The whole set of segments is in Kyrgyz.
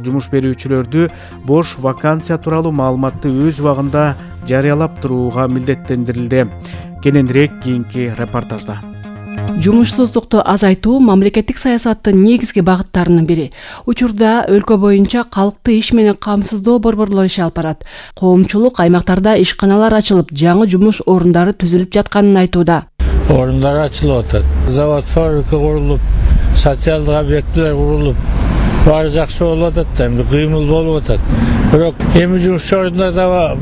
жумуш берүүчүлөрдү бош вакансия тууралуу маалыматты өз убагында жарыялап турууга милдеттендирилди. Кененирээк кийинки репортажда. Жумушсуздукту азайтуу мамлекеттик саясаттын негизги багыттарынын бири. Учурда өлкө боюнча калкты иш менен камсыздоо борборлору иш алып барат. Коомчулук аймактарда ишканалар ачылып, жаңы жумуш орундары түзүлүп жатканын айтууда. Орундар ачылып атат. Завод, фабрика курулуп, социалдык объектилер курулуп, баары жакшы болуп атат да, эми кыймыл болуп атат. Бирок эми жумуш орундар да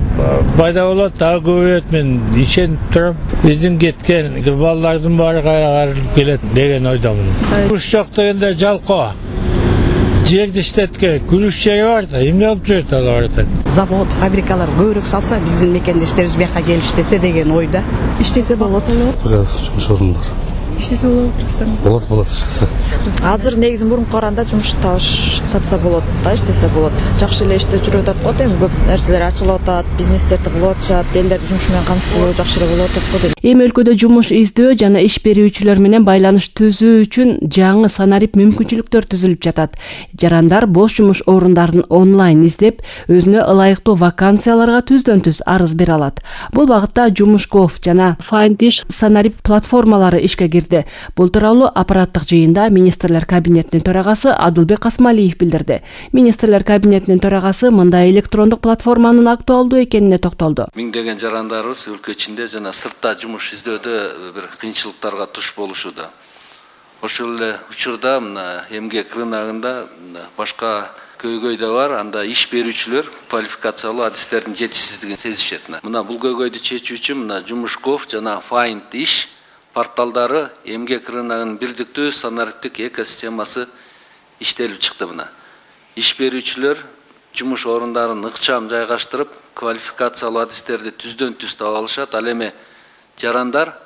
пайда болот, дагы көбөйөт, мен ишенип турам. Биздин кеткен балдардын баары кайрылып келет деген ойдомун. Жумуш жок дегенде жалкоо. Жерди иштетке, күрүш жери бар да, эмне болуп жүрөт алар? Завод, фабрикалар көбүрөөк салса, биздин мекендештерибиз бияка келип иштесе деген ойда. Иштесе болот. Жумуш орундар. Иштесе болот. Болот иштесе. Азыр негизи мурунку караганда жумуш тапса болот да, иштесе болот. Жакшы эле иштеп жүрүп атат го, эми көп нерселер ачылып атат, бизнестерди кылып атышат, элдерди жумуш менен камсыздоо жакшы эле болуп атат го. Эми өлкөдө жумуш издөө жана иш берүүчүлөр менен байланыш түзүү үчүн жаңы санарип мүмкүнчүлүктөр түзүлүп жатат. Жарандар бош жумуш орундарын онлайн издеп, өзүнө ылайыктуу вакансияларга түздөн-түз арыз бере алат. Бул багытта Жумуш.gov жана Find.ish санарип платформалары ишке кирди. Бул тууралуу аппараттык жыйында министрлер кабинетинин төрагасы Адылбек Касмалиев билдирди. Министрлер кабинетинин төрагасы мындай электрондук платформанын актуалдуу экенине токтолду. Миңдеген жарандарыбыз өлкө ичинде жана сыртта жумуш издөөдө бир кыйынчылыктарга туш болушууда. Ошол эле учурда эмгек рыногунда башка көйгөй да бар, анда иш берүүчүлөр квалификациялуу адистердин жетишсиздигин сезишет. Мына бул көйгөйдү чечүү үчүн Жумуш.gov жана Find.ish порталдары эмгек рыногунун бирдиктүү санариптик экосистемасы иштелип чыкты. Иш берүүчүлөр жумуш орундарын ыкчам жайгаштырып, квалификациялуу адистерди түздөн-түз таба алышат. Ал эми жарандар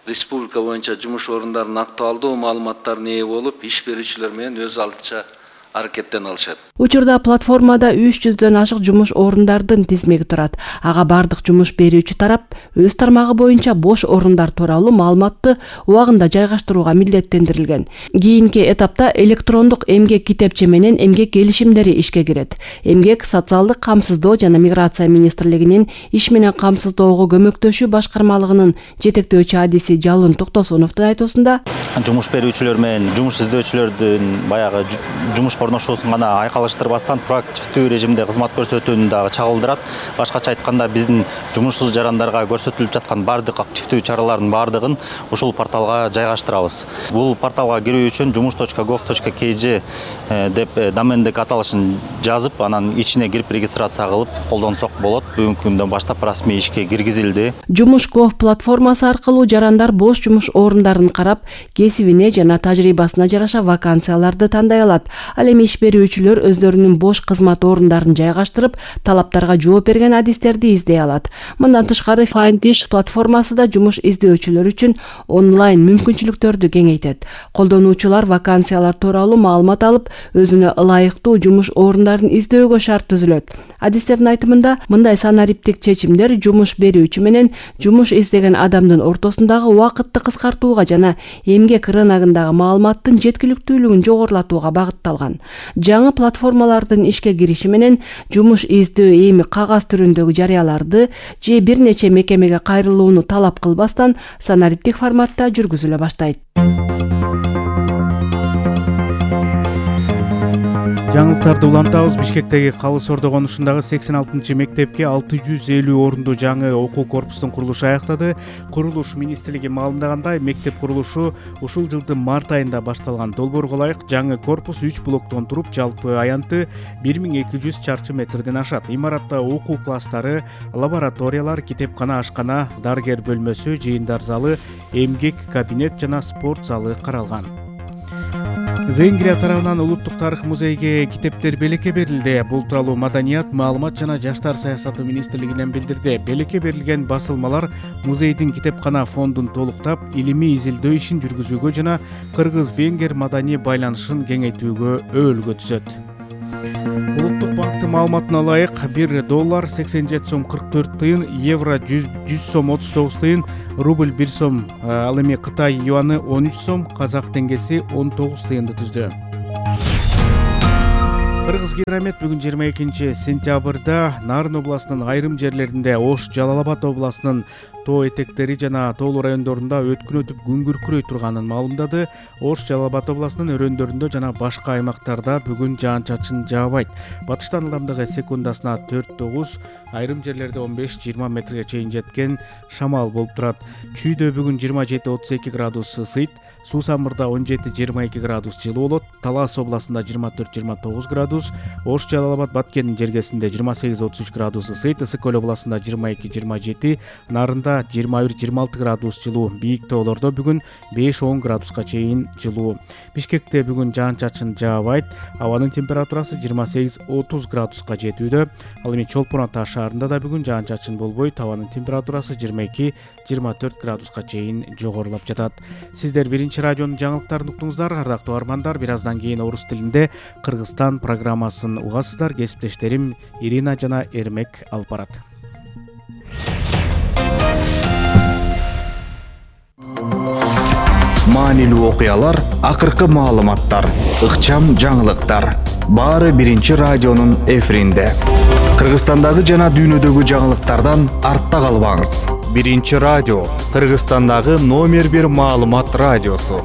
республика боюнча жумуш орундарынын актуалдуу маалыматтарына ээ болуп, иш берүүчүлөр менен өз алдынча аракеттене алышат. Учурда платформада 300дөн ашык жумуш орундардын тизмеги турат. Ага бардык жумуш берүүчү тарап өз тармагы боюнча бош орундар тууралуу маалыматты убагында жайгаштырууга милдеттендирилген. Кийинки этапта электрондук эмгек китепче менен эмгек келишимдери ишке кирет. Эмгек социалдык камсыздоо жана миграция министрлигинин иш менен камсыздоого көмөктөшүү башкармалыгынын жетектөөчү адиси Жалын Токтосуновдун айтуусунда жумуш берүүчүлөр менен жумуш издөөчүлөрдүн баягы жумуш корношуусун гана айкалыштырбастан проактивдүү режимде кызмат көрсөтүүнү дагы чагылдырат. Башкача айтканда биздин жумушсуз жарандарга көрсөтүлүп жаткан бардык активдүү чаралардын бардыгын ушул порталга жайгаштырабыз. Бул порталга кирүү үчүн jumush.gov.kg деп домендик аталышын жазып, анан ичине кирип регистрация кылып колдонсок болот. Бүгүнкү күндөн баштап расмий ишке киргизилди. Жумуш.gov платформасы аркылуу жарандар бош жумуш орундарын карап, кесибине жана тажрыйбасына жараша вакансияларды тандай алат. Ал эми иш берүүчүлөр өздөрүнүн бош кызмат орундарын жайгаштырып, талаптарга жооп берген адистерди издей алат. Мындан тышкары Find.ish платформасы да жумуш издөөчүлөр үчүн онлайн мүмкүнчүлүктөрдү кеңейтет. Колдонуучулар вакансиялар тууралуу маалымат алып, өзүнө ылайыктуу жумуш орундарын издөөгө шарт түзүлөт. Адистердин айтымында, мындай санариптик чечимдер жумуш берүүчү менен жумуш издеген адамдын ортосундагы убакытты кыскартууга жана эмгек рыногундагы маалыматтын жеткиликтүүлүгүн жогорулатууга багытталган. Жаңы платформалардын ишке кириши менен жумуш издөө эми кагаз түрүндөгү жарыяларды же бир нече мекемеге кайрылууну талап кылбастан санариптик форматта жүргүзүлө баштайт. Жаңылыктарды улантабыз. Бишкектеги Калыс Ордо конушундагы 86-мектепке 650 орунду жаңы окуу корпустун курулушу аяктады. Курулуш министрлиги маалымдагандай, мектеп курулушу ушул жылдын март айында башталган. Долбоорго ылайык жаңы корпус 3 блоктон туруп, жалпы аянты 1200 чарчы метрден ашат. Имаратта окуу класстары, лабораториялар, китепкана, ашкана, дарыгер бөлмөсү, жыйындар залы, эмгек кабинет жана спорт залы каралган. Венгрия тарабынан улуттук тарых музейге китептер белекке берилди. Бул тууралуу Маданият, маалымат жана жаштар саясаты министрлигинен билдирди. Белекке берилген басылмалар музейдин китепкана фондун толуктап, илимий изилдөө ишин жүргүзүүгө жана кыргыз-венгер маданий байланышын кеңейтүүгө өбөлгө түзөт. Улуттук банктын маалыматына ылайык, $1 87 сом 44 тыйын, евро 100 сом 39 тыйын, рубль 1 сом, ал эми Кытай юаны 13 сом, казак теңгеси 19 тыйынды түздү. Кыргыз Қазгидромет бүгүн 22 сентябрда Нарын областынын айрым жерлеринде, Ош, Жалал Абад областынын тоо этектери жана тоолуу райондорунда өткүн өтүп күн күркүрөй турганын маалымдады. Ош, Жалал Абад областынын өрөөндөрүндө жана башка аймактарда бүгүн жаан-чачын жаабайт. Батыштан ылдамдыгы секундасына 4-9, айрым жерлерде 15-20 метрге чейин жеткен шамал болуп турат. Чүйдө бүгүн 27-32 градус ысыйт. Суусамырда 17-22 градус жылуу болот. Талас областында 24-29 градус, Ош, Жалал Абад, Баткендин жергесинде 28-33 градус ысыйт. Ысык көл областында 22-27, Нарында 21-26 градус жылуу. Бийик тоолордо бүгүн 5-10 градуска чейин жылуу. Бишкекте бүгүн жаан-чачын жаабайт. Абанын температурасы 28-30 градуска жетүүдө. Ал эми Чолпон Ата шаарында да бүгүн жаан-чачын болбойт. Абанын температурасы 22-24 градуска чейин жогорулап жатат. Сиздер биринчи радионун жаңылыктарын уктуңуздар. Ардактуу армандар, бир аздан кийин орус тилинде Кыргызстан программасын угасыздар. Кесиптештерим Ирина жана Эрмек алып барат. Маанилүү окуялар, акыркы маалыматтар, ыкчам жаңылыктар. Баары биринчи радионун эфиринде. Кыргызстандагы жана дүйнөдөгү жаңылыктардан артта калбаңыз. Биринчи радио, Кыргызстандагы номер 1 маалымат радиосу.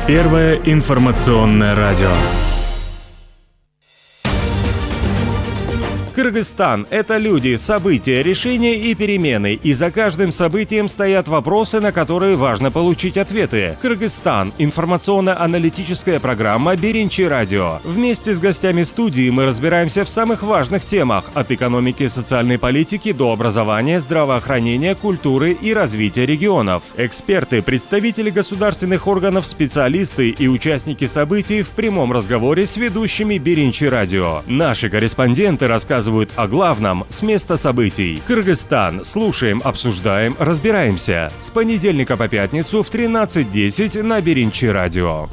Первое информационное радио. Кыргызстан – это люди, события, решения и перемены. И за каждым событием стоят вопросы, на которые важно получить ответы. Кыргызстан – информационно-аналитическая программа «Биринчи радио». Вместе с гостями студии мы разбираемся в самых важных темах – от экономики и социальной политики до образования, здравоохранения, культуры и развития регионов. Эксперты, представители государственных органов, специалисты и участники событий в прямом разговоре с ведущими «Биринчи радио». Наши корреспонденты рассказывают о главном с места событий. Кыргызстан. Слушаем, обсуждаем, разбираемся. С понедельника по пятницу в 13:10 на Биринчи радио.